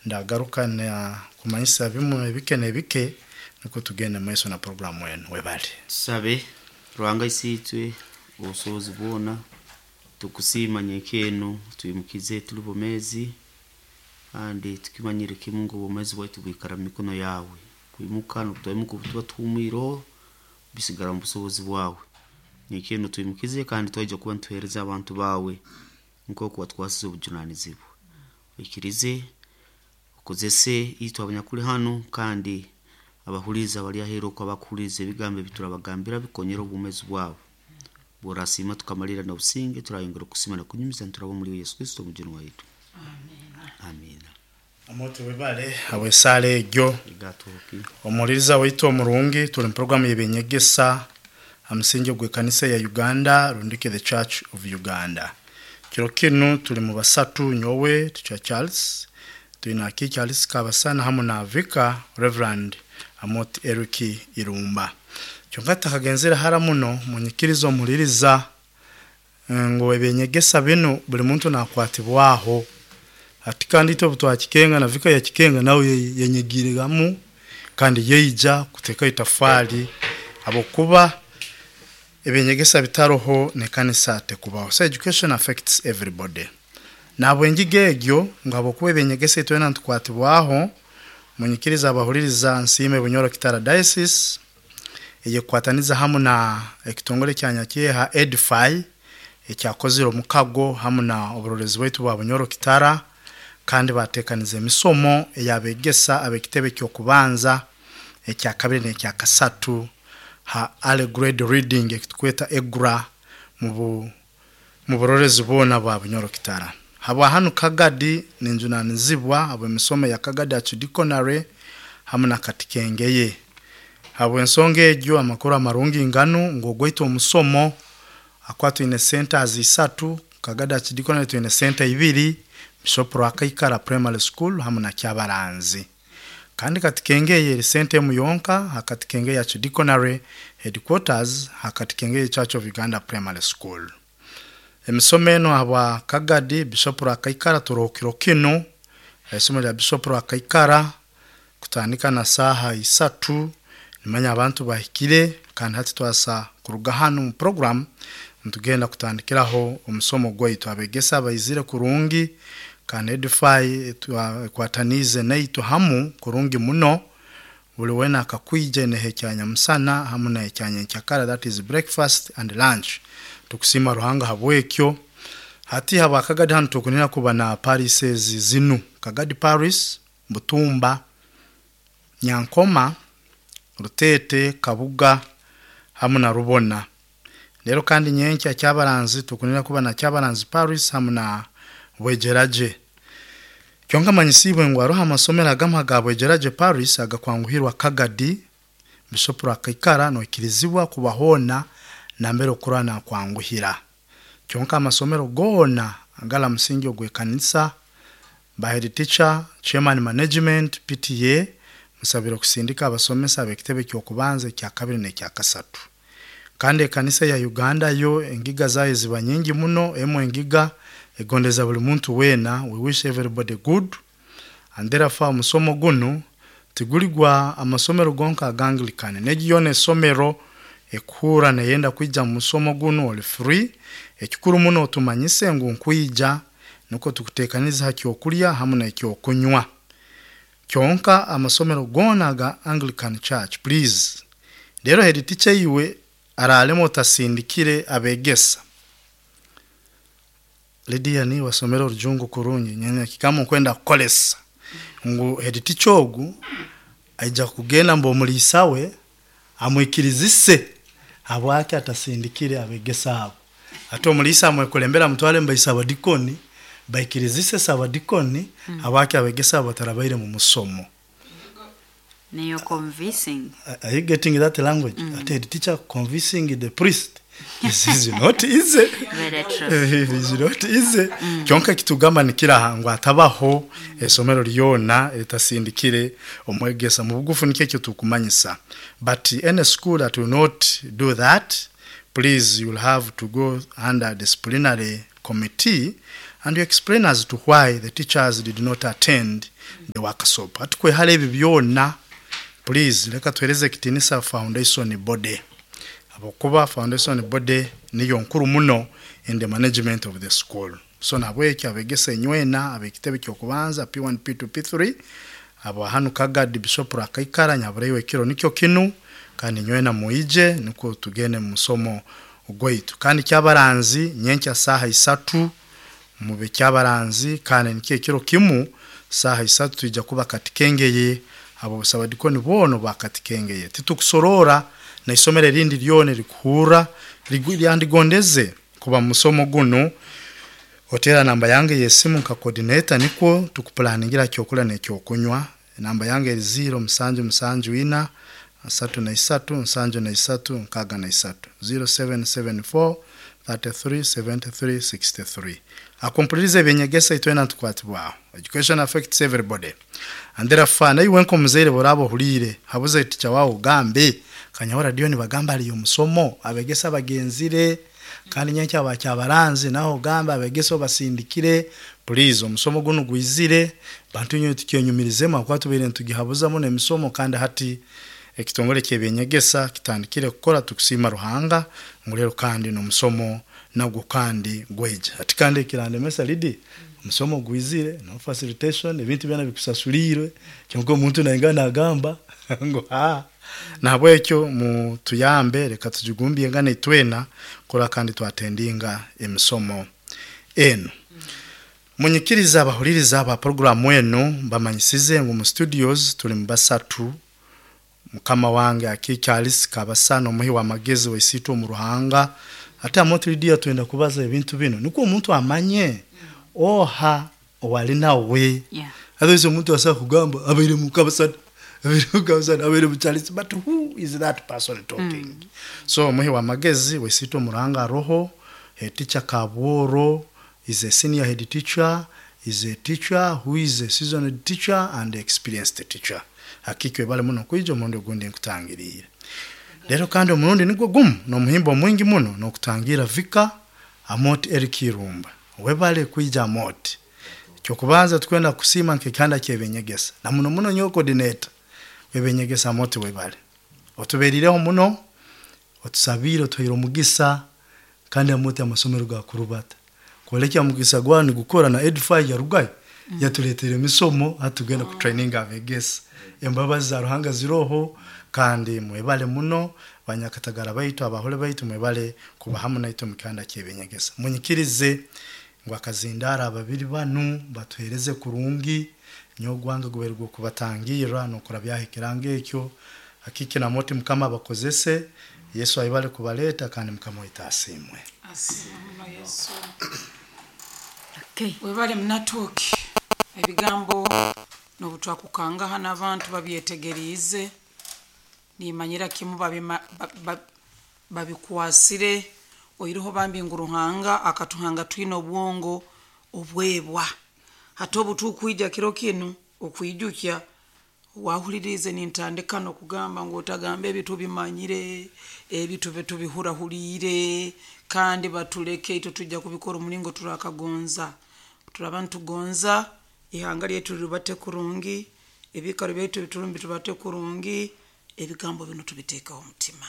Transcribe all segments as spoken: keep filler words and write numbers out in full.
Ndagaruka na kumanyisa bimwe bike nebike, niko tugende maiso na programu enu. Webale. Tusabe. Ruhanga Isiitwe, obusobozi bwona, tukusiima nyenkya twimukize tuli bomezi, kandi tukimanyire kimu ngu obwomezi bwaitu bwikara mu mikono yawe. Kwimuka nokutwimuka obu tuba tuhumwireho bisigara mu busobozi bwawe. Nyenkya twimukize kandi twaija kuba nituheereza abantu bawe nk'oku watwasize obujunanizibwa. Oikirize okozese itwe abanyakuli hanu, kandi abahuliiriza abali aheeru oku abakuhuliiriza ebigambo ebi turabagambira bikonyere obwomezi bwabo. Bworasiima tukamalirra n'obusinge, turayongera okusiima n'okunyumiza nituraba omuli Yesu Kristo Omujuni waitu. Amiina. Amoto, webale habw'esaala egyo. Gatoki. Omuhuliriza waitu omurungi, tuli mu programu y'ebyenyegesa ha musingi ogw'ekanisa ya Uganda, rundiki the Church of Uganda. Kiro kinu tuli mu basatu: nyowe Teacher Charles, twine Aki Charles Kabasana hamu na Vicar Reverend Amot Eric Irumba. Kyonka tutakagenzere hara muno, munyikiriza omuhuliriza ngu ebyenyegesa binu buli muntu nakwatibwaho. Hati kandi itwe obu twakikenga na Vicar yakikenga, nawe yenyigiriramu kandi yeija kuteekaho itafaali, habwokuba ebyenyegesa bitaroho n'ekanisa tekubaho. So education affects everybody. Nahabwengiga egyo ngu habwokuba ebyenyegesa itwena nitukwatibwaho, munyikiriza abahuliriza nsiime Bunyoro Kitara Diocese eyekukwataniza hamu na ekitongole kya Nyakyeha Edify, ekyakozire omukago hamu na oburorezi bwaitu bwa Bunyoro Kitara, kandi bateekaniza emisomo ey'abegesa ab'ekitebe ky'okubanza, ekyakabiri n'ekyakasatu ha early grade reading, ekitukweta EGRA, mu mu burorezi bwona bwa Bunyoro Kitara. Habwa hanu Kagadi ninjunanizibwa habw'emisomo ya Kagadi Archidiaconate hamu na Katikengeye. Habw'ensonga egyo, amakuru amarungi nganu ngu ogwaitu omusomo akuba twine centers isatu: Kagadi Archidiaconate twine center ibiri, Bishop Rwakaikara Primary School hamu na Kyabaranzi. Kandi Katikengeye eri center emu yonka ha Katikengeye Archidiaconate headquarters, ha Katikengeye Church of Uganda Primary School. Emisomo enu habwa Kagadi, Bishop Rwakaikara, turoho kiro kinu isomo lya Bishop Rwakaikara kutandika na saaha isatu. Nimanya abantu bahikire, kandi hati twasa kuruga hanu mu program nitugenda kutandikiraho omusomo gwaitu. Abegesa baizire kurungi, kandi Edify ekwataniize naitwe hamu kurungi muno. Buli wena akakwija eneha ekyanyamusana hamu n'ekyanyenkyakara, that is breakfast and lunch. Tukusiima Ruhanga habwekyo. Hati habwa Kagadi hanu tukunira kuba na parishes zinu: Kagadi Parish, Butumba, Nyankoma, Rutete, Kabuga hamu na Rubona. Rero kandi nyenkya Kyabaranzi tukunira kuba na Kyabaranzi Parish hamu na Bwegeraje. Kyonka manyisibwe ngu haroho amasomero agamu aga Bwegeraje Parish agakwanguhirwa Kagadi, Bishop Rwakaikara, noikirizibwa kuba hoona nambere okurora nakwanguhira. Kyonka amasomero goona agala musingi ogw'ekanisa, ba head teacher, chairman, management, P T A, musabire okusindika abasomesa ab'ekitebe ky'okubanza, ekyakabiri n'ekyakasatu. Kandi ekanisa ya Uganda yo engiga zayo ziba nyingi muno. Emu engiga egondeza buli muntu weena. We wish everybody good, and therefore omusomo gunu tiguli gwa amasomero gonka aga Anglican. Negi yoona esomero ekuhurra neyenda kwija mu musomo gunu, oli free. Ekikuru muno otumanyise ngu nkwija, nukwo tukuteekaniza ha kyokulya hamu n'ekyokunywa. Kyonka amasomero goona aga Anglican Church, please. Rero head teacher iwe araalema otasindikire abegesa. Lydia, ni wasomera orujungu kurungi, nyene kikamu nkwenda kukolesa ngu head teacher ogu aija kugenda mbu omuliisa we amwikirizise habwaki atasindikire abegesa abo. Ate omuliisa amwekulembera amutwale mbaisa abadikoni baikirizise sabadikoni habwaki abegesa abo batarabaire mu musomo. Niyo convincing. Are you getting that language? Mm. Ate head teacher convincing the priest is, is not easy. Very true. It is not easy. Kyonka kitugamba nikiraha ngu atabaho esomero lyona eritasindikire omwegesa. Mu bugufu nikyo ekyo tukumanyisa. But any school that will not do that, please, you will have to go under disciplinary committee. And you explain as to why the teachers did not attend the workshop. Atukwehara ebi byona, please leka tuhereze ekitinisa foundation body, habwokuba foundation body niyo nkuru muno in the management of the school. So nabwekyo abegesa enywena abekitebe kyokubanza P one P two P three abo hanu Kagadi Bishop Rakaikara nyabureyo ekiro nikyo kinu, kandi nywena muije niko tugende mu musomo ogwaitu. Kandi kyabaranzi nyenkya saha isatu mube kyabaranzi, kandi nikyo ekiro kimu saha isatu tuija kuba katikengeye abo busabadikoni bono bakatikengeye. Titukusorora na isomero erindi lyone rikuhura ryandigondeze kuba musomo guno. Otera namba yange yesimu nka coordinator niko tukuplaningira kyokula nekyokunywa. Namba yange eri zero musanju musanju ina asatu na isatu nsanju na isatu nkaga na isatu, zero seven seven four thirty-three seventy-three sixty-three. Akompulirize ebinyegesa itwena tukwatibwaho. Education affects everybody. And therefore nayo wenko muzeire borabo hulire habuze teacher wao gambe kanyahora radio ni bagamba ali omusomo abegesa bagenzire kandi nyencha abakyabaranzi naho gamba abegeso basindikire. Please omusomo guno gwizire bantu nyo tukyenyumirizemo akwa tubere ntugihabuzamo nemisomo, kandi hati ekitongole kyebenyegesa kitandikire kukora. Tukusima Ruhanga ngulero kandi nomusomo nagwo kandi gweja ati kandi kirandemesa lidi omusomo gwizire no facilitation ebintu byana bikusasulirwe cyangwa omuntu nayingana agamba ngo ha nabwekyo mu tuyambe reka tujigumbye ngane itwena kora kandi twatendinga emisomo eno. Munyikiriza abahuliriza aba program eno bamanyisize ngo mu studios tuli mbasatu. Mukama wange akikyalisi kabasano omuhi wa magezi waisito mu Ruhanga ate amotiridia twenda kubaza ebintu bino niko omuntu amanye oha owali nawe. Yeah. Otherwise omuntu asa kugamba abaire mu kabasana abaire mu kabasana abaire mu Charles, but who is that person talking? Mm. So omuhi wa magezi waisito mu Ruhanga roho head teacher Kabworo is a senior head teacher, is a teacher who is a seasoned teacher and experienced teacher. Hakikwe bale muno kwijo omurundi ogundi nkutangirire. Rero kandi omurundi nigwo gumu n'omuhimbo mwingi muno n'okutangira Vika Amoti Eric Irumba. Webale kwija Amoti. Kyokubanza tukwenda kusima nkekanda kyebenyegesa. Na muno muno nyo coordinator webenyegesa Amoti webale. Otuberireho muno otusabire otuhaire omugisa kandi Amoti amasomero ga kurubata. Kolekya mugisa gwani gukora na Edify ya Rugayi. Mm. Yatuletere emisomo atugenda ku training abegesa. Embabazi za Ruhanga ziroho kandi mwebale muno banyakatagara baitu abahole baitu mwebale kuba hamu naitwe mukanda kyebenyegesa. Munyikirize ngo akazindara ababiri banu batuhereze kurungi nyogwanga guberwa kubatangira nokora byahikiranga ekyo hakiki na moti mukama bakozese Yesu ayibale kubaleta kandi mukama witasimwe. Asimwe Yesu. Okay. Webale mnatoki ebigambo nobutwakukangaha n'abantu babyetegeriize nimanyira kimu babikwasire oiriho bambi ngu Ruhanga akatuhanga twine obwongo obwebwa hati obutukwija kiro kinu okwijukya wahulirize nintandika nokugamba ngu otagamba ebitu bimanyire ebitu betubihurahuriire kandi batuleke itwe tujja kubikora omulingo turakagonza turaba ntugonza ihanga lyetu lirubate kurungi ebikaro byaitu biturumbi tubate kurungi ebigambo bino tubiteekaho omutima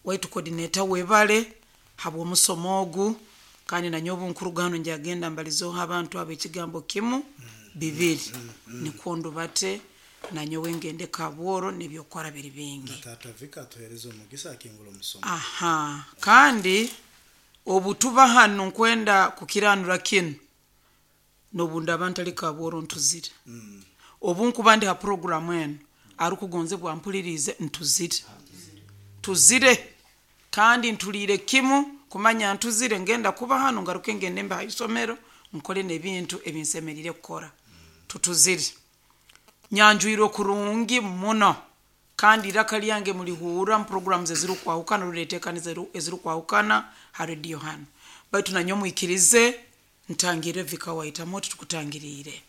waitu coordinator webale habwa omusomo ogu kandi nanyowe nkurugano njagenda mbalizeho abantu abo ekigambo kimu bibiri nikwo ndubate nanyowe ngende Kabworo nebyokora biri bingi. Tata Vika atuhereze omugisa akingula omusomo. Aha kandi obutuba hano nkwenda kukiranura kinu nobunda abantu ali Kabworo ntuzire. Mm. Obu nkuba ndi ha program eno arukugonze bwampulirize ntuzire. Tuzire kandi ntulire kimu kumanya ntuzire ngenda kuba hano ngaruke ngende mba isomero nkole nebintu ebinsemerire kukora. Tutuzire. Nyanjuiro kurungi muno kandi iraka lyange mulihura mu programs ezirukwahukana ruletekaniza ezirukwahukana ha radio hano baitu nanyo mwikirize ntangire Vika waita moto tukutangirire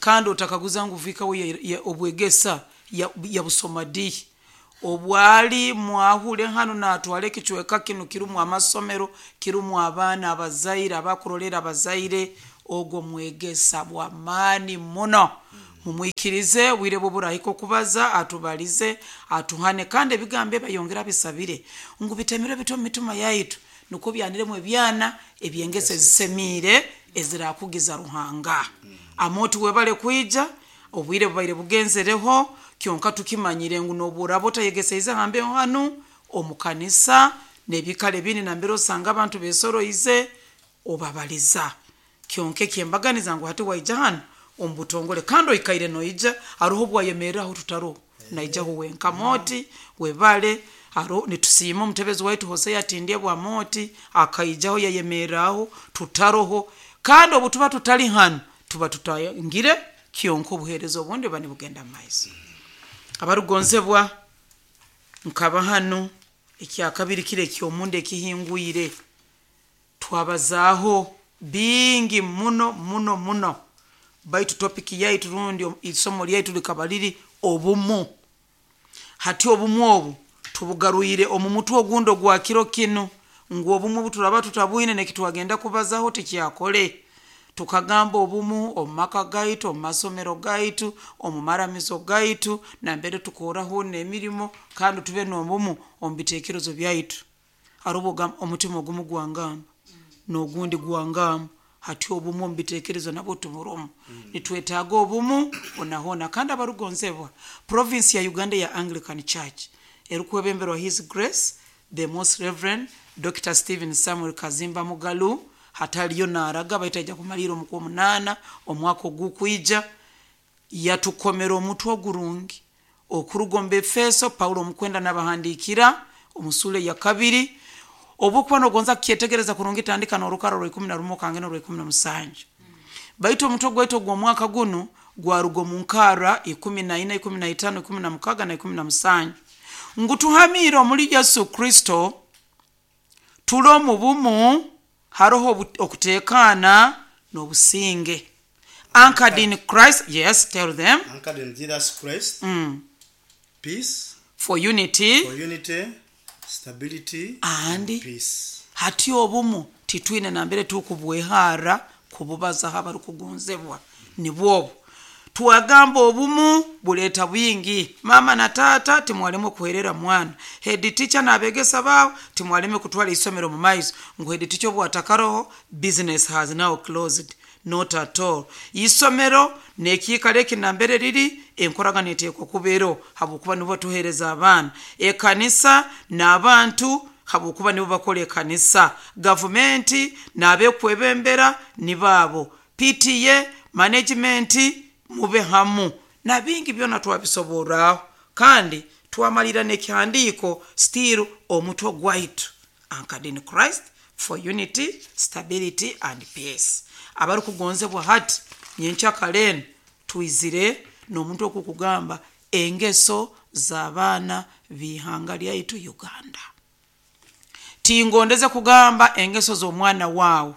kandi otakaguza ngu Vika we obwegesa ya, ya busomadi obwali mwahule hano natwale kichweka kino kirumu amasomero kirumu abaana abazaire abakurolera abazaire Ogwo mwegesa bw'amaani muno. Mumwikirize bwire bwo burahika okubaza, atubalize, atuhane, kandi ebigambo ebayongera bisabire ngu bitemere bito mu mitima yaitu, nukwo byaniremu ebyana ebyengese ezisemiire ezirakugiza Ruhanga. Amoti webale kwija, obwire bubaire bugenzereho, kyonka tukimanyire ngu noburaba otayegeseize hambeho hanu omu kanisa n'ebikaro ebindi nambere osanga abantu besoroize obabaliza. Kyonka ekyembaganiza ngu hati waija hanu omu butongole kandi oikaire noija, haroho obwayemerraho tutaroho, naijaho wenka. Moti webale, haro nitusiima omutebezi waitu Hosea Tindyebwa Moti akaijaho yayemerraho tutaroho, kandi obu tuba tutali hanu tuba tutangire, kyonka obuheereza obundi buba nibugenda mu maiso. Abarugonzebwa nkaba hanu ekyakabiri kiro eky'omunda ekihingwire twabazaaho bingi muno muno muno, baitu topiki yaitu rundi isomo lyaitu likaba liri obumu. Hati obumu obu tubugarwire omu mutwe ogundi ogwa kiro kinu, ngu obumu obu turaba tutabwine nekitwagenda kubazaho tikyakole. Tukagamba obumu omu maka gaitu, omu masomero gaitu, omu maramizo gaitu, nambere tukoraho n'emirimo, kandi tube n'obumu omu bitekerezo byaitu. Haroho ogamba omutima ogumu gwangamba n'ogundi gwangamba, hati obumu omu bitekerezo nabwo tuburumu. Nitwetaaga obumu hona hona. Kandi abarugonzebwa, province ya Uganda ya Anglican Church erukwebemberwa His Grace the Most Reverend Doctor Stephen Samuel Kazimba Mugalu, hataliyo naaraga baitu aija kumalira omu kwomunaana omwaka ogukwija, yatukomera omutwe ogurungi okuruga omu Befeso. Paulo omukwenda nabahandiikira omu suula ya kabiri. Obukuba nogonza kukyetegereza kurungi, tandika n'orukara rwa ikumi na rumu kange n'orwa ikumi na musanju. Baitu omutwe gwaitu ogw'omwaka gunu gwaruga omu nkara ikumi na ina, ikumi na itaano, ikumi na mukaga na ikumi na musanju, ngu tuhamiire omuli Yesu Kristo, tuli omu bumu, haroho okuteekaana n'obusinge. Anchored in Christ, yes, tell them. Anchored in Jesus Christ, Mm. peace, for unity, for unity, stability, and peace. Hati obumu titwine nambere tukubwehara kububazaho abarukugonzebwa nibwobu. Twagamba obumu buleeta bwingi. Mama na tata timwaleme kuherera mwana, head teacher n'abegesa baabo timwaleme kutwara isomero mu maiso, ngu head teacher obwatakaroho business has now closed. Not at all. Isomero n'ekiikaro eki nambere riri, enkoragana eteekwa kubeero habwokuba nibo batuheereza abaana. Ekanisa n'abantu habwokuba nibo bakora ekanisa. Gavumenti n'abekwebembera nibaabo. P T A management mube hamu na bingi byona twabisoboraho, kandi twamalira n'ekihandiiko still omutwe gwaitu anchored in Christ for unity, stability and peace. Abarukugonzebwa hati nyenkyakare twizire n'omuntu okukugamba engeso z'abaana b'ihanga lyaitu Uganda. Tingondeze kugamba engeso z'omwana waawe,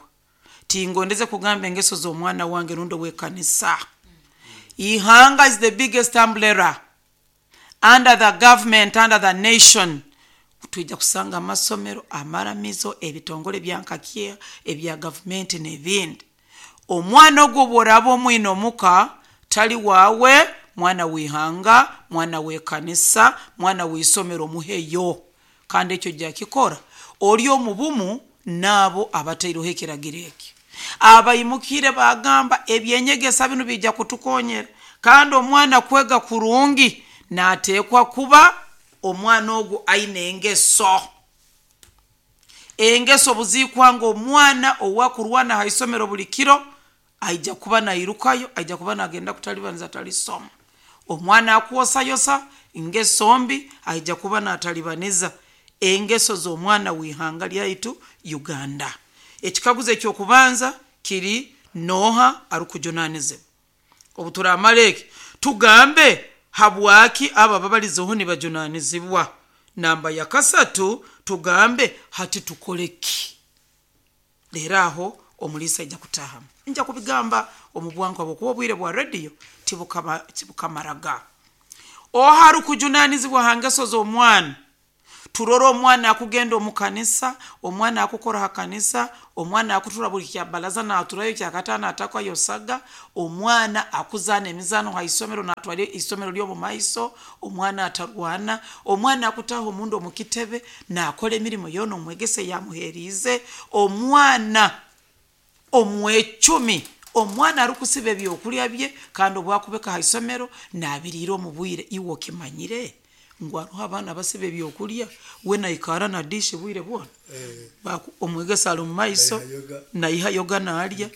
tingondeze kugamba engeso z'omwana wange rundi ow'ekanisa. Ihanga is the biggest umbrella under the government, under the nation. Twija kusanga amasomero, amaramizo, ebitongole bya nkakia, ebya gavumenti n'ebindi. Omwana ogwo bw'oraba omwine omuka, tali waawe, mwana w'ihanga, mwana w'ekanisa, mwana w'isomero, muheyo. Kandi ekyo jakikora ori omu bumu n'abo abataireho ekiragiro eki. Abaimukire bagamba ebyenyegesa binu bijja kutukonyera, kandi omwana kwega kurungi nateekwa kuba omwana ogwo aine engeso. Engeso buzikwanga omwana owakurwana ha isomero buli kiro aija kuba nairukayo, aija kuba nagenda kutalibaniza talisoma. Omwana akwosayosa engeso mbi aija kuba natalibaniza. Engeso z'omwana w'ihanga lyaitu Uganda. Ekikaguzo ekyokubanza kiri noha arukujunanizibwa. Obu turamara eki tugambe habwaki aba babalizeho nibajunanizibwa. Namba ya kasatu tugambe hati tukole ki. Leero aho omulisa aija kutahamu. Nja kubigamba omu bwangu habwokuba obwire bwa radio tibukamaraga. Oha arukujunanizibwa ha ngeso z'omwana? Turora omwana akugenda omu kanisa, omwana akukora ha kanisa, omwana akutura buli kya balaza naturayo kyakataano atakwayo saga, omwana akuzaana emizaano ha isomero natwara isomero ly'omu maiso, omwana atarwana, omwana akutaha omundu omu kitebe nakora emirimo yoona omwegese yamuheriize, omwana omwecumi, omwana arikusiba ebyokurya bye kandi obwakubeka ha isomero nabiriira omu bwire. Iwe okimanyire ngu hariho abaana basiba ebyokurya we naikara na dishi bwire bwona, Baku- omwegesa ali omu maiso naiha yoga nalya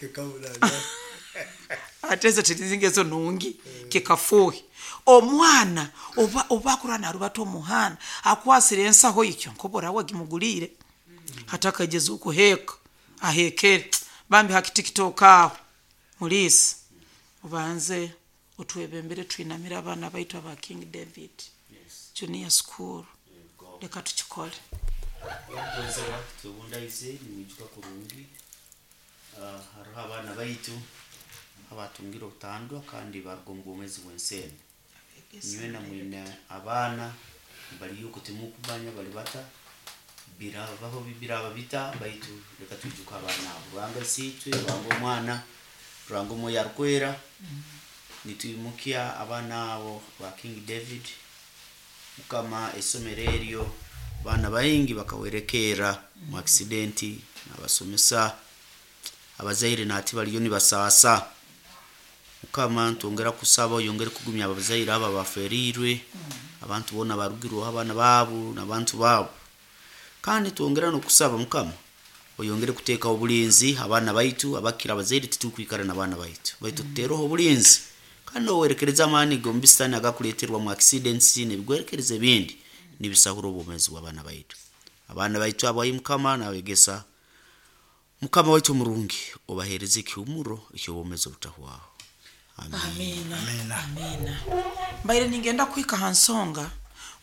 ate ezo tirizingezo nungi kikafuhi. Omwana oba oba akura narubata omuhanda akwasire ensaho ikyo nkobora wagimuguliire hatakageza okuheeka ahekere bambi ha kitiktok aho muliisi obanze otwebembere twinamire abaana baitu aba King David Junior School, leka tukikole. Omugonzebwa twebundaize nimwijuka kurungi. Ah, hariho abaana baitu abatungire obutandwa kandi baruga omu bwomezi bw'ensi eno. Nywena mwine abaana bari yuko timukumanya bari bata birabaho biraba bita, baitu reka twijuke abaana abo. Ruhanga isiitwe, Ruhanga omwana, Ruhanga omwoyo arikwera, nitwimukya abaana abo ba King David. Mukama esomero eryo abaana baingi bakawerekeera mu accident, nabasomesa abazaire nati bariyo nibasaasa. Mukama ntwongera kusaba oyongere kugumya abazaire abo abaferirwe, abantu boona barugirweho abaana baabo n'abantu baabo. Kandi twongera n'okusaba Mukama oyongere kuteekaho obulinzi abaana baitu abakira abazaire titukwikara n'abaana baitu, baitu tuteereho obulinzi kandi owerekereza amaani g'omu bisitani agakuleeterwa mu accidents n'ebigwerekereza ebindi nibisahura obwomeezi bw'abaana baitu. Abaana baitu abo ayi Mukama nabegesa Mukama waitu omurungi obaheereze ekihumuro eky'obwomeezi obutahwaho. Amen. Amina. Amina. Mbaire ningenda kuhika ha nsonga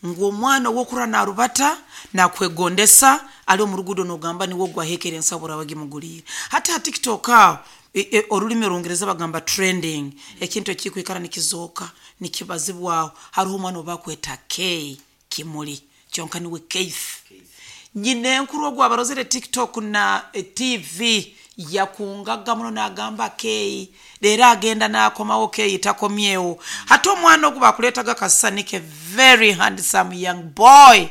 ngu omwana owokura narubata nakwegondesa ali omu ruguudo nogamba niwe ogwahekere ensaho oraba gimuguliire. Hati ha TikTok aho e, e, orulimi orungereza bagamba trending, ekintu ekikwikara nikizooka nikibazibwaho. Hariho omwana obakweta K Kimuli kyonka niwe Keith. Nyina enkuru ogwo abarozere TikTok na eh, T V yakungaga muno nagamba K leero agenda nakomawo K takomyewo. Hati omwana ogwo bakuleetaga kasisani ke very handsome young boy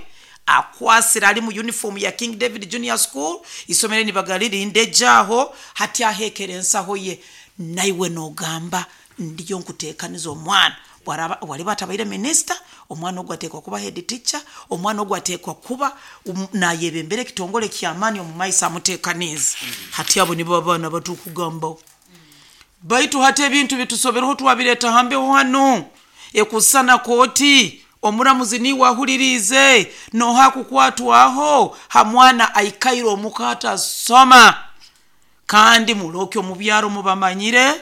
akwasira ali mu uniform ya King David Junior School, isomero nibagalirinde aho hati ahekere ensaho ye naiwe nogamba ndiyo nkuteekaniza omwana. Bwaraba waliba atabaire minisita, omwana ogwo ateekwa kuba head teacher, omwana ogwo ateekwa kuba um, nayebembera ekitongole ky'amaani omu maiso amuteekanize. Hati abo nibo abaana batukugambaho. Baitu hati ebintu bitusobereho twabireeta hambeho hano ekusana kooti omuramuzi niwe ahuririize noha kukwatwaho ha mwana aikaire omuka atasoma. Kandi muroke omu byaro mubamanyire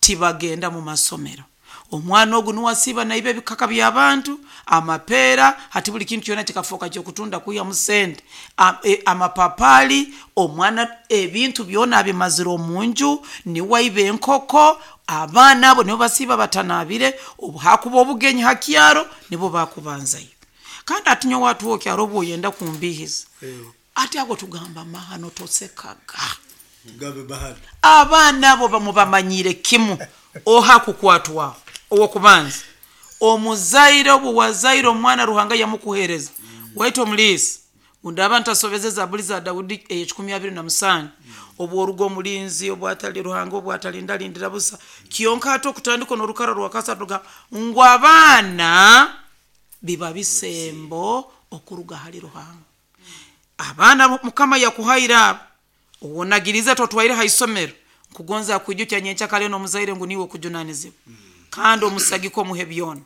tibagenda mu masomero. Omwana ogu niwasiiba naiba ebikaka by'abantu, amapeera, hati buli kintu kyona kikafuuka kyokutunda kwihamu sente. A, e, amapapali, omwana ebintu byona abimazire omu nju, niwaiba enkoko, abaana abo nibo basiiba batanabire, obu hakuba obugenyi ha kyaro nibo bakubanzayo. Kandi ati nyowe atuho kyaro obu oyenda kumbihiza. Ati ago tugamba mahano tosekaga. Tugambe bahano. Abaana abo bamubamanyire kimu oha kukwatwaho owokubanza omuzaire obu wazaire omwana Ruhanga yamukuhereza waitu omuliisi undaba ntasobeze zaburi za Daudi ey'ekikumi abiri na musanju obu orugo omulinzi obwatali Ruhanga obwatalindalindira busa kyonka ate okutandika n'orukara rwa kasatu ga ngu abaana biba bisembo okuruga hali Ruhanga. Abaana Mukama yakuhaire abo owonagirize totwaire ha isomero nkugonza kwijukya nyenkya kare n'omuzaire ngu niwe okujunanizibwa kandi omusagiko omuhe byona.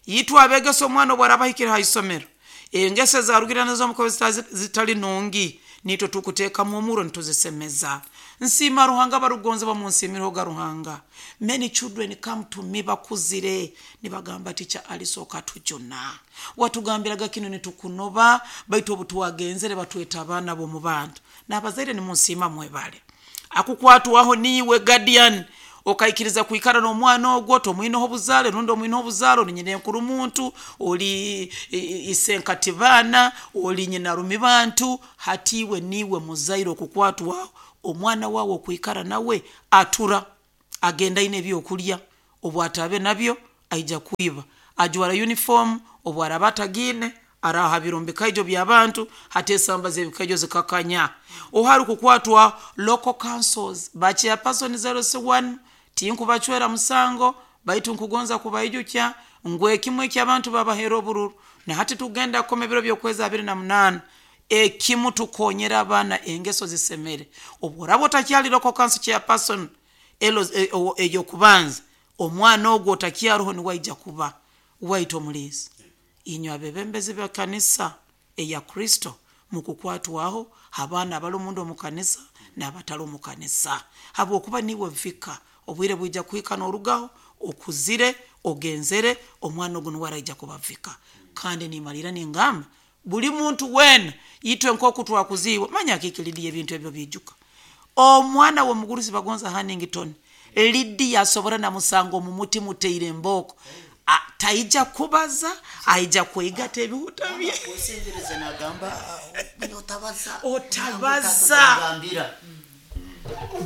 Itwe abegesa omwana obu arabahikire ha isomero engeso ezarugire nazo omukobe zitali nungi nitwe tukuteekamu omuro nituzisemeza. Nsiima Ruhanga barugonze bamunsiimireho ga Ruhanga. Many children come to me bakuzire nibagamba ticha alisoka tujuna watugambiraga kino nitukunoba baitu obu twagenzere batweta abaana b'omu bantu n'abazaire nimunsiima mwebale. Akukwatwaho niiwe guardian Okaikiriza kwikara n'omwana ogwo, tomwineho obuzaare rundi omwineho obuzaare, ori nyina enkuru muntu, ori isenkati baana, ori nyina rumi bantu. Hati iwe niiwe muzaire okukwatwaho omwana wawe okwikara nawe atura agenda aine ebyokurya, obu ataabe nabyo aija kwiba, ajwara uniform obu araba atagiine arahabira omu bikaijo by'abantu. Hati esamba z'ebikaijo zikakanya ohari kukwatwa local councils ba chairperson zero one tinkubacwera musango, baitu nkugonza kubaijukya ngu ekimwe eky'abantu babahera obururu. Na hati tugenda kukoma ebiro by'okwezi abiri na munaana, ekimu tukonyera abaana engeso zisemere. Obu oraba otakyali local council chairperson eyokubanza, omwana ogwo otakyaroho niwe aija kuba waitu omuliisi. Inywe abebembezi b'ekanisa eya Kristo mukukwatwaho abaana abali omunda omu kanisa n'abatali omu kanisa, habwokuba niiwe vika obwire bwija kuhika n'orugaho okuzire ogenzere, omwana ogu niwe araija kuba vika. Kandi nimalira ningamba buli muntu weena itwe nk'oku twakuziibwe, manya akiki Lidiya ebintu ebyo biijuka. Omwana w'omugurusi bagonza Hannington, Lidiya asobora namusanga omu muti muteire embooko, taija kubaza, aija kwegata ebihuta bye. Otabaza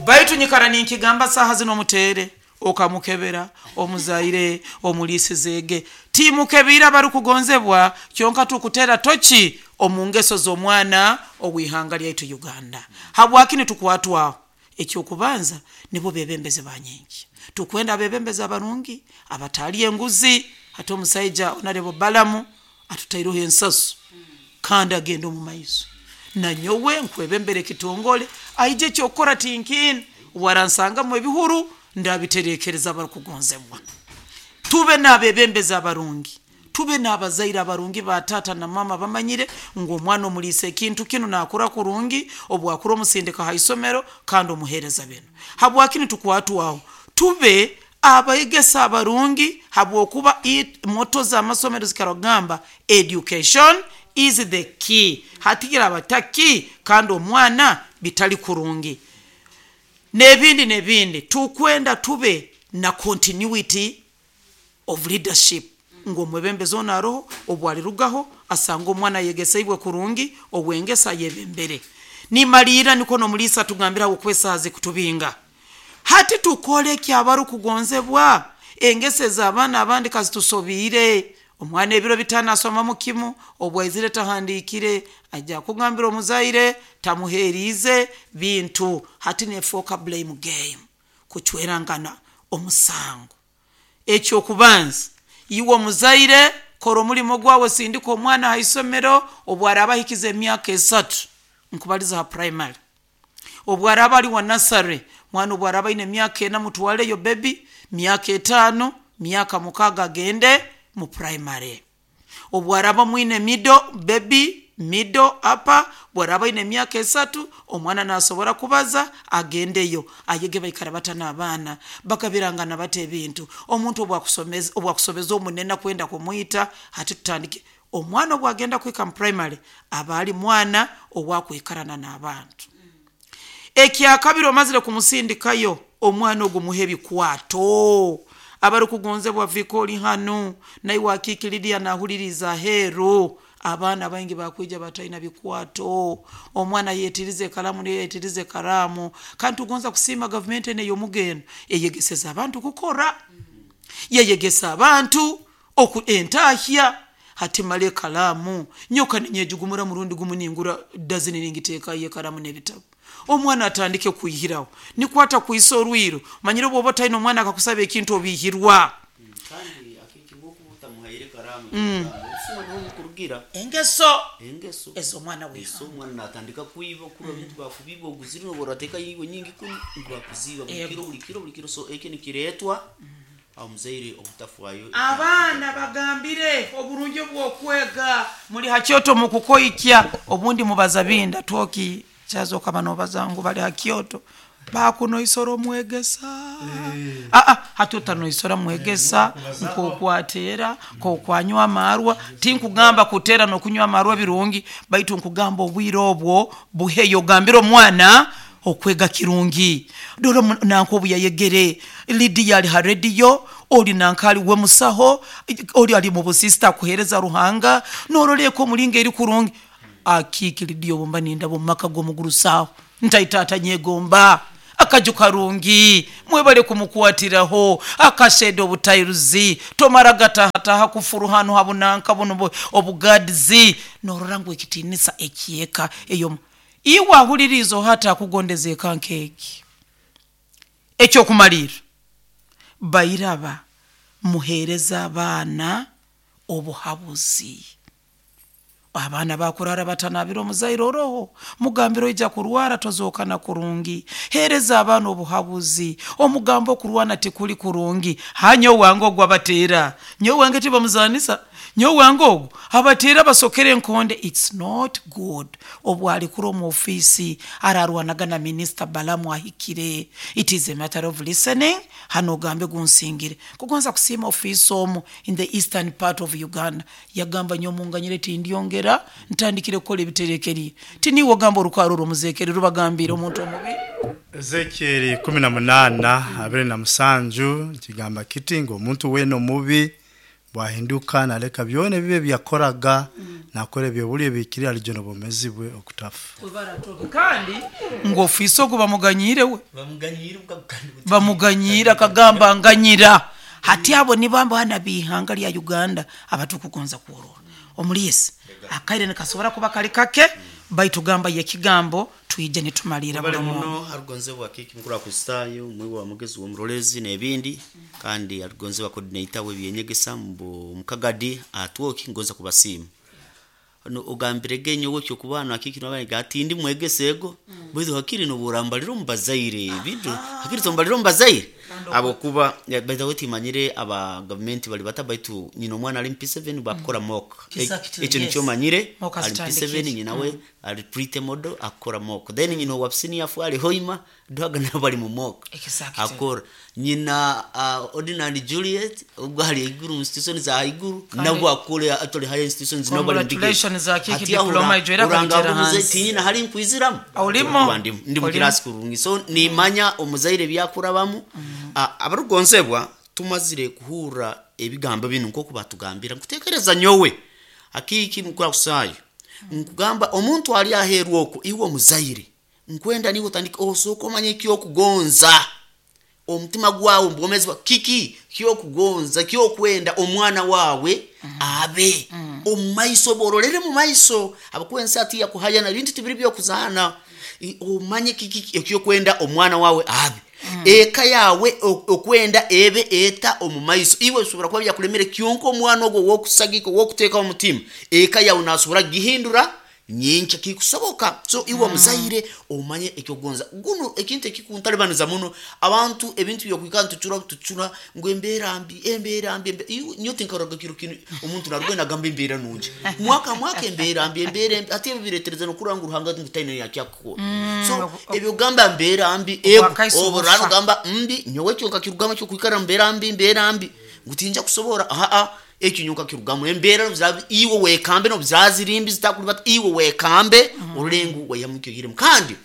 baitu nyikara ninkigamba saaha zino omuteere okamukebera omuzaire omuliisizeege timukebiire abarikugonzebwa, kyonka tukutera toki omu ngeso z'omwana ow'ihanga lyaitu Uganda. Habwaki nitukwatwaho? Ekyokubanza nibo bebembezi ba nyenkya, tukwenda abebembezi abarungi abatali enguzi. Hati omusaija Honorable Balamu atutaireho ensasu kandi agenda omu maiso, nanyowe nkwebembera ekitongole aije ekyokukora tinkiine, waransangamu ebihuru ndabiterekereza abarukugonzebwa. Tube n'abebembezi abarungi, tube n'abazaire abarungi ba taata na mama bamanyire ngu omwana omuliisa ekintu kinu nakura kurungi, obwakura omusindika ha isomero kandi omuheereza binu. Habwaki nitukwatwaho? Tube abaegesa abarungi, habwokuba moto z'amasomero zikaragamba education is the key. Hati kiraba taki kandi omwana bitali kurungi n'ebindi n'ebindi. Tukwenda tube na continuity of leadership, ngu omwebembezi onu aroho obu alirugaho asanga omwana ayegeseibwe kurungi ow'engeso ayebembere. Nimaliira niko n'omuliisa atugambira habwokuba esaaha zikutubinga. Hati tukole ki abarukugonzebwa? Engeso ez'abaana abandi kazitusobiire. Omwana ebiro bitaano asomamu kimu, obu aizire tahandiikire, aija kugambira omuzaire tamuheeriize bintu. Hati neefooka blame game, kucwerangana omusango. Ekyokubanza iwe omuzaire kora omulimo gwawe, sindika omwana ha isomero obu araaba ahikize emyaka esatu, nkubaliza ha primary. Obu araaba ali wa nursery, mwana obu araaba aine emyaka ena mutwaleyo baby, myaka etaano, myaka mukaaga agende mu primary. Obu araaba mwine middle baby, middle upper, obu araaba aine emyaka esatu omwana nasobora kubaza agendeyo ayege baikara bata n'abaana, bagabirangana bata ebintu. Omuntu obu akusobeza omunene kwenda kumwita, hati tutandike omwana obu agenda kuhika mu primary aba ali mwana owakwikarana n'abantu. Ekyakabiri omazire kumusindikayo omwana ogu muhe ebikwato. Abarukugonzebwa vika oli hanu naiwe akiiki Lidiya nahuliriza aheeru, abaana baingi bakwija bataina bikwato, omwana yetirize ekaramu niyo yetirize ekaramu. Kandi tugonza kusiima gavumenti enu ey'omugendo eyegeseze abantu kukora, yeyegesa abantu oku entahya. Hati mara ekaramu nyoka ninyejugumura murundi gumu ningura dazini ningiteekayo ekaramu n'ebitabu, omwana atandike kwihiraho nikwata kwisa orwiro. Manyire obu oba otaine omwana akakusaba ekintu obihirwa. Kandi akiki ngoku utamuhaire karamu, obusuma niho bukurugira engeso engeso ez'omwana eso w'ihanga. omwana natandika kwiba kurwa bintu bakubiba oguzire nobu orateeka yiwe nyingi kunu bakuziba buli kiro Ego. buli kiro buli kiro. So ekyo nikireetwa omuzaire obutafwayo. Abaana bagambire oburungi obw'okwega muli ha kyoto mukukoikya, obundi mubaza binda twoki kyazoka nobaza ngu bali ha kyoto bakunoisora omwegesa. Aa, hati otanoisora mwegesa nk'okwatera nk'okwanywa amarwa. Tinkugamba kutera n'okunywa amarwa birungi, baitu nkugamba obwire obwo buheyo ogambire omwana Okwega kirungi dore mu- nanka obu yayegere Lidiya ali ha rediyo, oli nanka ali we musaho, oli ali mu busisita akuhereza Ruhanga, noroleko omulinga eri kurungi akiiki Lidiya obumba nindaba omu maka g'omugurusaho ntaita nyegomba akaju karungi mwebale kumukwatiraho akasheda obutairuzi tomara gatahataha kufuru hanu habunanka buno bu- obugadizi norora ngu ekitinisa ekyeka eyo iwe ahuliriza hata akugondeza eka nkeegi. Ekyokumalira, bairaba muhereza abaana obuhabuzi. Abaana bakurara batanabira omuzaire oroho mugambiro ija kurwara tozokana kurungi. Hereza abaana obuhabuzi, omugambo okurwana tikuli kurungi. Hanyo wange ogwo abateera, nyo wange tibamuzanisa, nyo wange ogwo abateera basokere enkonde. It's not good. Obwalikura omu ofiisi ararwanaga na minisita Balamu ahikire. It is a matter of listening. Hano ogambe gunsingire kugonza kusiima ofiisi omu in the eastern part of Uganda yagamba nyomunganyire tindyongera ntandikire kukola ebiterekerye tiniwe ogamba orukaro orumuzekere rubagambire omuntu omubi. Ezekieli kumi na munana abiri na musanju kigamba kiti ngo omuntu wena omubi bwahinduka naleka byona ebibi byakoraga nakora ebyobuli ebikiri alijona obwomezi bwe okutafa. Kandi ngu ofiisi ogu bamuganyire we Bamuganyira ubwo- bamuganyira akagamba nganyira. Hati abo nibamba hana bihanga lya Uganda abatukugonza kuorora omulisi akaire nikasobora kuba kali kake baitu gamba yekigambo twije nitumalira bale buli muntu. Muno arugonzebwa kiki mukuru akustayo mwiwa wa mugezi w'omurolezi n'ebindi kandi arugonzebwa coordinator w'ebyenyegesa mu mukagadi atwoki ngoza kubasiima no ogambire genyo wekyo kubana kiki nabane gatindi mwegese ego bwizo hakiri no burambaliro mubazaire bintu hakiri tombaliro mubazaire abo kuba baita wetimanyire aba government bali batabaitu nyina omwana ali M P seven bakora mock. Exactly, Ekyo yes. nikyo manyire. Mock Ali M P seven. azitandikire. Nyina we ali pretty model akora mock, then nyina wa senior four ali hoima dwaga nabo bali mu mock. Exactly. Akora nyina uh, ordinary Juliet ubwo hari iguru institution za iguru nabwo akore actually higher institutions nabo bali mu degree. Congratulations, Akiki, Ati aho diploma ura- ijyo era uranga akabitera abuze hansi. ti nyina hari nkwiziramu. Olimo. Kuba ndi ndi mu Olimo. class kurungi so nimanya omuzaire byakurabamu. Ah, abarugonzebwa tumazire kuhura ebigambo bino nkoku batugambira nkutekereza nyowe akiki mukura kusayo nkugamba omuntu ali aheru okwo iwe omuzaire nkwenda niwe otandika osooka omanye ekyokugonza omutima gwawe mubwomezi bwa kiki kyokugonza kyokwenda omwana wawe abe omumaiso borolere mumaiso abakuwensi ati yakuhayana bintu tibiri byokuzaana. I- omanye kiki ekyokwenda omwana wawe abe eka yawe o- okwenda ebe eta omumaiso. Iwe osobora kuba byakulemere kyonka omwana ogwo wokusagika wokuteeka omutima eka yawe nasobora gihindura nyenkya kikusoboka. So iwe omuzaire omanye ekyokugonza guno ekintu ekikuntalibaniza muno abantu ebintu byokwikara ntucura tucura ngu embeera mbi embeera mbi embe- iwe nyo tinkaroga kiro kinu omuntu narugenda agamba embeera nungi mwaka mwaka embeera mbi embeera mbi ate ebyo biretereza nokura ngu Ruhanga ngu taine yakyakukora. So ebyo gamba mbeera mbi ego Obwakaiso obo bufa. rano gamba mbi nyowe kyo nkakirugamba kyokwikara mbeera mbi embeera mbi ngu tinja kusobora aa ekyo nyowe nkakirugamu embeera nobuzira iwe wekambe nobuzirazirimbi zitakulibata iwe wekambe orulengu weyamukyoyiremu. Kandi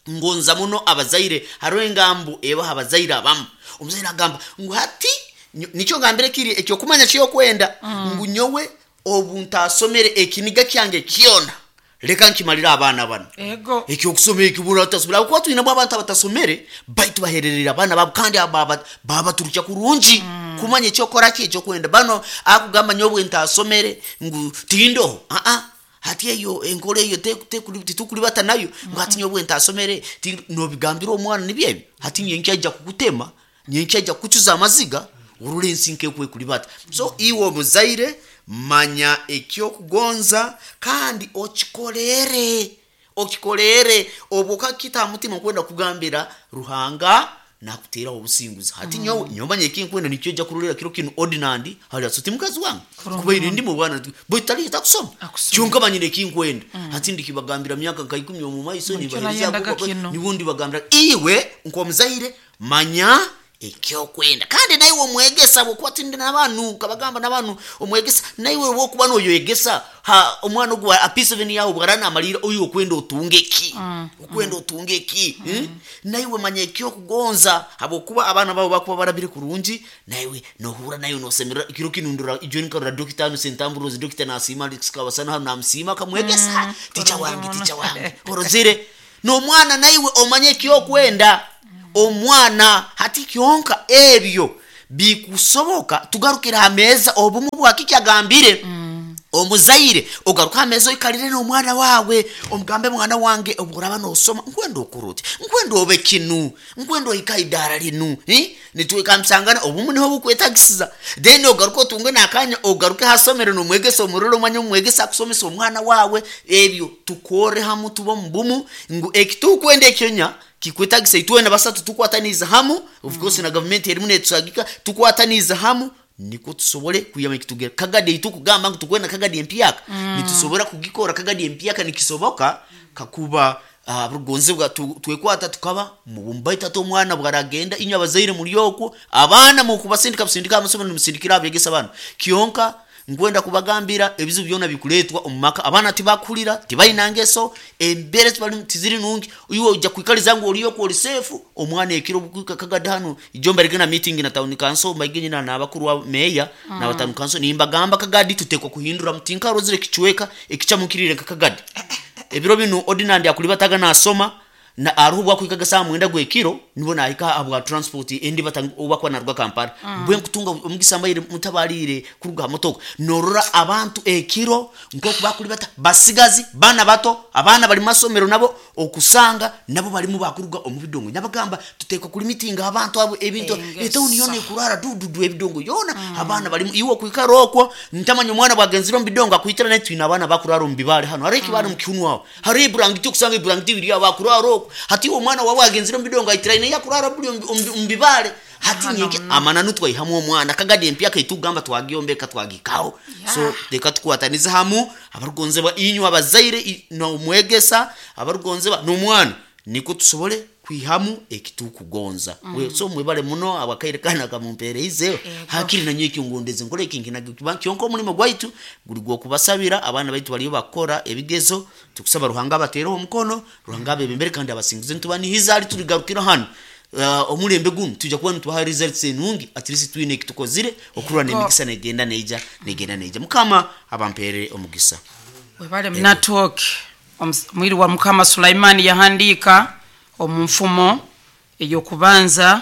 ngonza muno abazaire hariho engambo ebaha abazaire abamu omuzaire agamba ngu hati nyo- nikyo ngambire kiri ekyokumanya kyokwenda ngu nyowe obu ntasomere ekiniga kyange kyona leka nkimalire abaana bano. Ego. Ekyokusoma ekibura batasomere kuba twinemu abantu abatasomere baitu bahererera abaana babo kandi aba- babaturukya kurungi kumanya ekyokora ki ekyokwenda bano akugamba nyobwe ntasomere ngu tindoho aa hati eyo enkola eyo te- tekuli- titukulibata nayo ngu hati nyobwe ntasomere ti- nobigambira omwana nibyebi hati nyenkya ajja kukutema nyenkya ajja kukucuza amaziga orora ensi nkekwekulibata. So iwe omuzaire manya ekyokugonza kandi okikolere okikolere obwo kakita mutima nkwenda kugambira Ruhanga nakuteeraho obusinguzi hati nyowe nyomanya ekinkwenda nikyo ojja kurolera kiro kinu ordinandi hali asuti mukazi wange kuba iri ndi mu bwana bwe takusoma. Akusoma. Kyonka manyire ekinkwenda hati ndikibagambira myaka nka ikumi omu maiso Nikyo nibahereza nayendaga kino. nibundi bagambira iwe nk'omuzaire manya. Ekyokwenda kandi naiwe omwegesa bwokuba tindi n'abantu kabagamba n'abantu omwegesa naiwe bwokuba noyoyegesa ha omwana ogu a P seven yawe bwarana amalira oyo okwenda otunge ki okwenda otunge ki mm. Naiwe manya ekyokugonza habwokuba abaana babo bakuba barabire kurungi naiwe nohura nayo nosemerera kiro kinundura ijo nkarora dokita anu sentamburozi dokita nasima kabasana hano namsima kamwegesa mm. Ticha wange ticha wange orozire n'omwana naiwe omanye ekyokwenda omwana hati kyonka ebyo bikusoboka tugarukira hameza obumu bwakiki agambire mm. Omuzaire ogaruka hameza oikalire n'omwana wawe omugambe mwana wange obworaba nosoma nkwenda okuruti nkwenda obe kinu nkwenda ohika idara linu eh? Nitwekamsangana obumu niho bukwetagisiza then ogaruka otunge nakanya ogaruke hasomero nomwegesa omuroro omwanya omwegesa akusomesa omwana wawe ebyo tukore hamu tuba mubumu ngu ekitukwenda ekyonya kikwetagisa itwena basatu tukwataniza hamu of course mm. Na government erimu netusagika tukwataniza hamu niko tusobole kuyama ekitugera kagadi itukugamba ngu tukwenda kagadi empyaka mm. Nitusobora kugikora kagadi empyaka nikisoboka kakuba uh, rugonzebwa tu, twekwata tukaba mubumbaita to omwana bwaragenda inywe abazaire muri okwo abaana mukubasindika busindika amasomero nimusindikira abegesa abana kionka nkwenda kubagambira ebizibu byona bikuletwa omumaka abaana tibakulira tibalina ngeso embere tiziri nungi iwe ojja kwikaliza ngu oliyo ku olisefu omwana ekiro bukuka kagadano ijomba rigena meeting na town council maigenyi na nabakuru wa meya mm. Na town council nimbagamba kagadi tutekwa kuhindura mutinka rozire kichweka ekichamukirire kakagadi ebiro bino ordinand akulibataga nasoma na aruhu bwakwikaga saa mwenda gwekiro nibo nahika abwa transport endi batanga narwa Kampala mm. Bwe nkutunga omugisa mbaire mutabalire kuruga motoka norora abantu ekiro nkoku bakulibata basigazi bana bato abana bali masomero nabo okusanga nabo balimu bakuruga omubidongo nyabagamba tuteka kuli meeting abantu abo ebintu etown yone kurara dududu ebidongo yona mm. Abana balimu iwo kwikara okwo ntamanya omwana bwagenzira omubidongo akuitira naye twina abana bakurara omubibale hano hari ekibali mm. Mukiunu aho hari iburangiti okusanga iburangiti biri abakurara okwo hati omwana wawe agenzira omubidongo aitira ine yakurara buli omubibale hati nyeke amananu twaihamu omwana kagadi empyaka itugamba twagiombeka twagikaho yeah. So reka tukwataniza hamu abarugonzebwa inywe abazaire n'omwegesa abarugonzebwa n'omwana niko tusobole kwihamu ekitukugonza mm. We so mwebale muno abakaire kana kamumpereize hakiri nanyo ekingondeze nkole ekinkina kyonko omulimo gwaitu guli gwokubasabira abaana baitu baliyo bakora ebigezo tukusaba Ruhanga abateereho omukono Ruhanga abebembere kandi abasingize ntubanihiza ali tuligarukira hano Uh, omulembe guno tujja kuba nitubaha results enungi at least twine ekitukozire okurwa nemigisa negenda neija negenda neija mukama abampere omugisa webale munatoke omwiri wa mukama Sulaimani yahandika omunfumo eyokubanza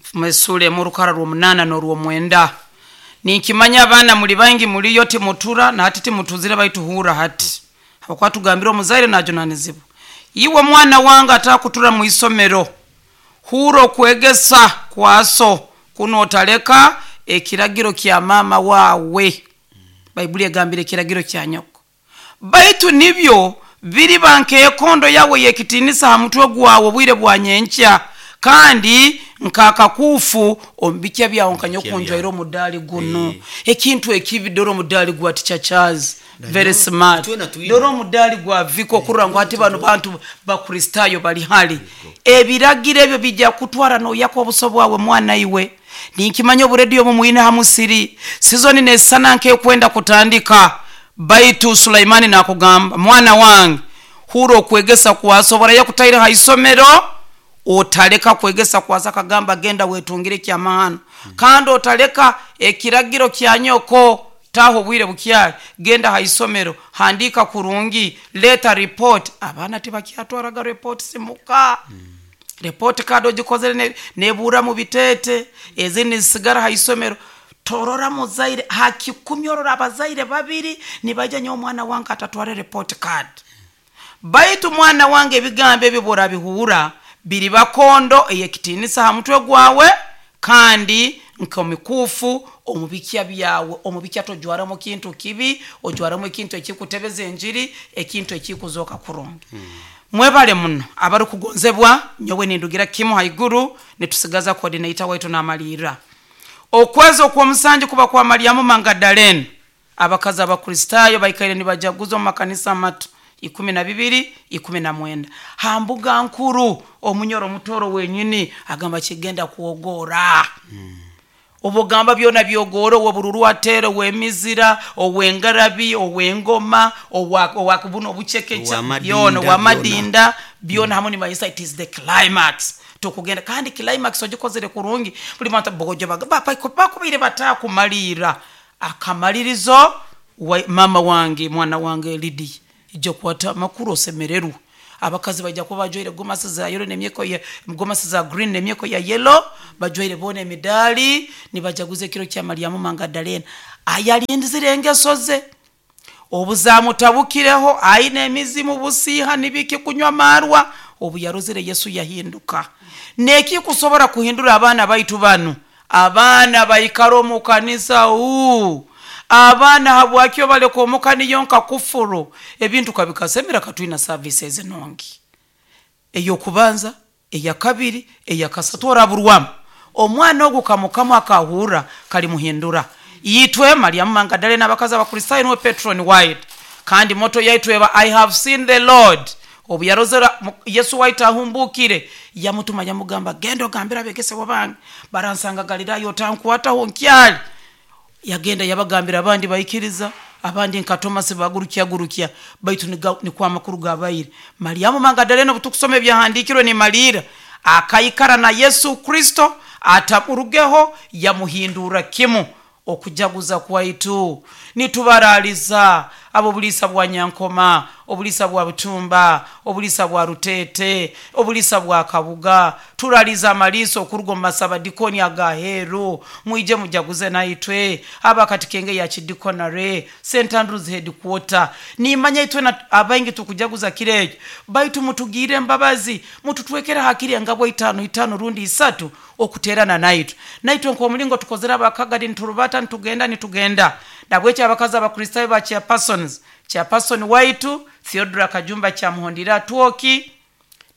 mfumo esura emurukara rw'omunana n'orw'omwenda ninkimanya abaana muli bangi muliyo timutura na hati timutuzire baituhura hati habwokuba tugambire omuzaire najunanizibwa iwe mwana wange atakutura mu isomero hura okwegesa kwaso kuno otaleka ekiragiro kya mama wawe Baibuli egambire ekiragiro kya nyoko baitu nibyo biri bankeekondo yawe yekitinisa ha mutwe gwawe obwire bwa nyenkya kandi nkakakufu omubikya byawe nkanyokunjwaire omudaali guno ekintu ekibi dora omudaali gwa tichachazi very smart dora omudaali gwa viko okurora ngu hati bano bantu bakristayo bali hali ebiragiro ebyo bijja kutwara noyaka obuso bwawe mwana iwe ninkimanya oburediyo bumwine hamusiri sizoni nesana nkekwenda kutandika baitu Sulaimani nakugamba mwana wange hura okwegesa kwasobora yakutaire haisomero otaleka kwegesa kwasa kagamba genda wetungire kyamahano mm. Kandi otaleka ekiragiro kya nyoko taho bwire bukyali genda haisomero handika kurungi leta report abaana tibakyatwaraga report simuka mm. Report kado gikozere nebura mu bitete ezindi zisigara haisomero torora muzaire hakikumyorora abazaire babiri nibaja nyo omwana wange atatware report card baitu mwana wange ebigambo ebyo borabihura biri bakondo eyekitinisa ha mutwe gwawe kandi nkomikufu omubikya byawe omubikya tojwaramu kintu kibi ojwaramu ekintu ekikutebeza enjiri ekintu ekikuzoka kurungi hmm. Mwebale muno abari kugonzebwa nyowe nindugira kimu haiguru nitusigaza coordinator waitu namalira okwezi okwomusanju kuba kwa Mariamu Magdalene abakazi abakristayo baikaire nibajaguza mu makanisa mato ikumi na bibiri ikumi na mwenda hambuga nkuru omunyoro mutoro wenyini agamba kigenda kuogora obugamba byona byogora owobururu atere owemizira owengarabi owengoma owa owa buno obuchekecha Owamadinda, byona owamadinda byona hamwe nibayisa it is the climax tukugenda kandi climax ogikozere kurungi buli muntu bogojo bakubaire batakumalira akamalirizo wa, mama wange mwana wange Lydia ijja kwata makuru osemererwa abakazi bajja kuba bajwaire gomasi za yellow nemyeko ya gomasi za green nemyeko ya yellow bajwaire bona emidali nibajaguza ekiro kya Mariamu Magdalena ayalindizire engeso ze obuzamutabukireho aine emizimu busiiha nibiki kunywa marwa obu yarozere Yesu yahinduka neki kusobora kuhindura abaana baitu banu abaana baikara omu kanisa uu abaana habwakyo baleka omuka niyo nka kufuru ebintu kabikasemera katwina services nongi eyokubanza eyakabiri eyakasatu oraburwamu omwana ogu kamukamu akahura kalimuhindura yitwe Mariamu Magdalena abakazi abakristayo niwe Patron White kandi moto yaitu eba I have seen the Lord obu yarozera mu- Yesu waitu ahumbukire yamutuma yamugamba genda ogambire abegesebwa bange baransanga Galilaya otankwataho nkyali yagenda yabagambira abandi baikiriza abandi nka Thomas bagurukya gurukya baitu niga- nikwa amakuru gabaire Mariamu Magdalena obutukusoma ebyahandikirwe ni malira akaikara na Yesu Kristo atamurugeho yamuhindura kimu okujaguza kwaitu nitubaraliza abo bulisa bwa Nyankoma obulisa bwa Butumba obulisa bwa Rutete obulisa bwa Kabuga turaliza amaliso okuruga mu masabadikoni agaheru mwije mujaguze naitwe abakatikenge ya kidikonare St Andrews headquarter nimanya itwe na abaingi tukujaguza kirejo baitu mutugire embabazi mututwekera hakiri engabwa itano itano rundi isatu okuterana naitwe naitwe nkomulingo tukozera abakagadi nturubata nitugenda nitugenda nabwekyo abakazi abakristayo ba chairpersons chairperson waitu Theodora Kajumba kyamuhondera twoki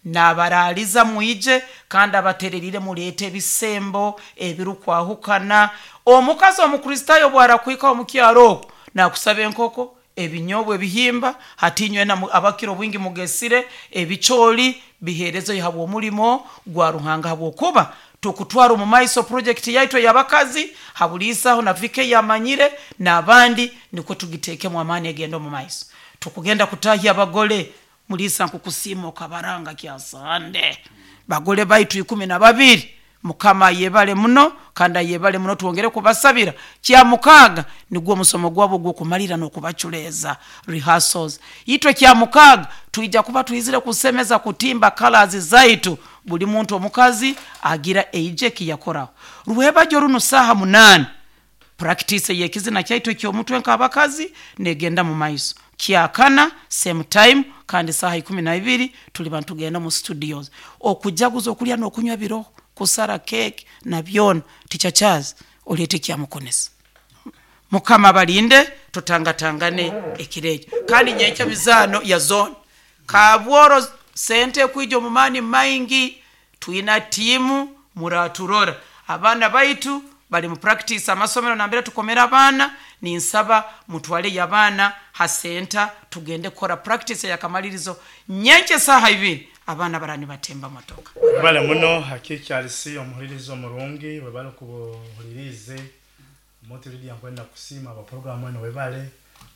nabaraliza mwije kandi abatererire muleete ebisembo ebirukwahukana omukazi omukristayo bwarakwika omukyaro okwo nakusaba enkoko ebinyobwa ebihimba hatinywe na abakiro bwingi mugesire ebicholi biherezo habwo omulimo gwa Ruhanga habwokuba tukutwara omu maiso project yaitu ey'abakazi habuliisaho na vike yamanyire n'abandi nikwo tugitekemu amaani egenda omu maiso tukugenda kutahya abagole mulisa nkukusiima okabaranga kyasande bagole baitu ikumi na babiri mukama ayebale muno kandi ayebale muno twongere kubasabira kya mukaaga nigwo omusomo gwabo gw'okumalira n'okubaculeeza rehearsals itwe kya mukaaga twija kuba twizire kusemeza kutimba colors zaitu buli muntu omukazi agira eije kiyakoraho rwebajo runo saha munani practice yekizina kyaitu ekyomutwe nk'abakazi negenda mu maiso kyakana same time kandi saha ikumi na ibiri tuli bantu tugenda mu studios okujaguza okulya n'okunywa biroho kusara cake na byona tichachazi oleete kyamukonesa mukama balinde tutangatangane ekirejo kandi nyenkya mizaano ya zone kabworo sente kwija omumaani maingi twina tiimu muraturora abaana baitu bali mu practice amasomero nambere tukomera abaana ninsaba mutwaleyo abaana ha senta tugende kukora practice eyakamalirizo nyenkya esaaha ibiri abaana barani batemba motoka webale muno hakikyalisi omuhuliriza omurungi webale kubuhulirize motividi nkwenda kusiima abaprogramu eno webale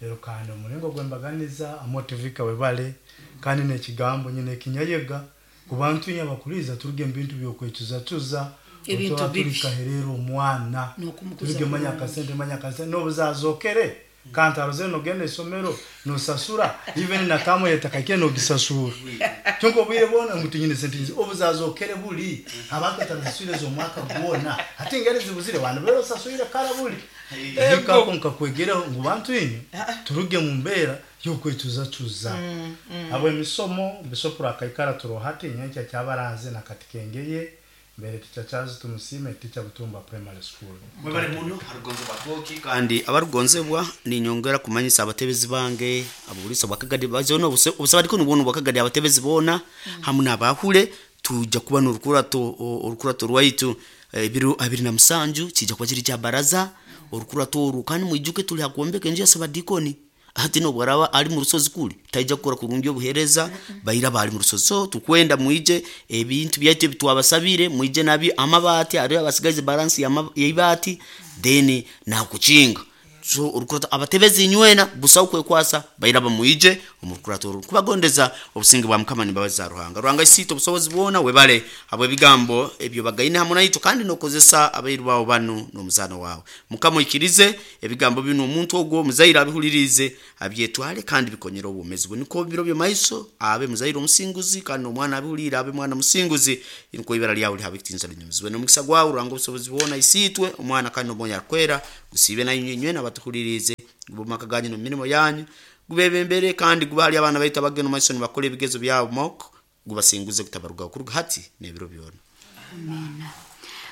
lero kandi omulingo gwembaganiza amotivika webale kandi nekigambo nyine ekinyayega kubantu inye abakuliza turuge mu bintu byokwecuzacuza Ebintu otoba bibi. turikaherera omwana N'okumukuza turuge manya bulungi. akasente manya akasente nobuzazokere kantaro nogenda isomero nosasura even natamu yetakakire nogisasura kyonka obwire bwona ngu tinyine sente nyingi obuzazokere buli abantu batarasaswire z'omwaka gwona ate engeri zibuzire bantu bero osaswire kara buli hikako nkakwegereho ngu bantu inyu turuge mu mbeera y'okwecuzacuza abo emisomo bisopura akaikara turohati nyenkya kyabaranze nakatikengeye mbere ticha tumusime ticha Butumba primary school mwebale muno harugonzebwa twoki kandi abarugonzebwa ninyongera kumanyisa abatebezi bange abulisa bwakagadi bazona obusabadiko nubwono bwakagadi abatebezi bona hamwe n'abahule tuja kuba n'orukurato o- orukurato rwaitu eh, ebiro abiri na musanju kijja kuba kiri kya baraza orukurato oru kandi mwijuke tuli hakuombeka enju ya sabadikoni Hati nobwaraba ali mu rusozi kuli taija kukora kurungi obuhereza baira bali mu rusozi. So tukwenda mwije ebintu byaitu ebitwabasabire mwije nabyo, amabaati ari abasigaze balance y'eibaati then nakukinga. So orukurata abatebezi nywena busaho kwekwasa baira bamwije omu rukurato oru. Kubagondeza obusinge bwa Mukama n'embabazi za Ruhanga. Ruhanga isiito obusobozi bwona, webale habwe ebigambo ebyo bagaine hamwe naitwe, kandi nokozesa abairu bawe banu n'omuzaano wawe. Mukama oikirize ebigambo bino omuntu ogwo omuzaire abihulirize abyetware kandi bikonyere obwomezi bwe, niko biro by'omaiso abe muzaire omusinguzi, kandi n'omwana abihulire abe mwana musinguzi, niko ibara lyawe lihabe ekitinisa linyumizibwe n'omukisa gwawe. Ruhanga obusobozi bwona, isiitwe, omwana kandi n'omwoyo akwera, gusiibe nainywe inywena abatuhulirize, gube omu maka ganyu n'omu mirimo yanyu, gubebembere kandi guba hali abaana baitu abagenda omu maiso nibakora ebigezo byabo moko, gubasinguze kutabarugaho kuruga hati n'ebiro byona.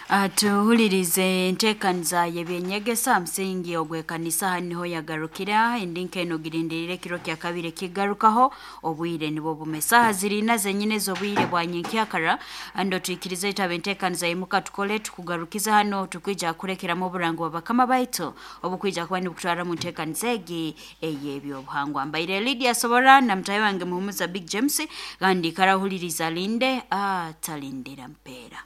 Ah, tuhulirize enteekaniza y'ebyenyegesa musingi ogw'ekanisa aha niho yagarukira endi nk'eno girindirire ekiro kya kabiri kigarukaho obwire nibwo bume saaha zirina zenyine ez'obwire bwa nyenkyakara. Ando twikirize itaba enteekaniza yimuka tukole tukugarukiza hano tukwija kurekeramu oburango bwa bakama baitu obukwija kuba nibukutwara mu nteekaniza egi ey'ebyobuhangwa. Mbaire Lydia Sobora na mutahi wange Muhumuza Big James, kandi karahuliriza linde atalindira mpeera.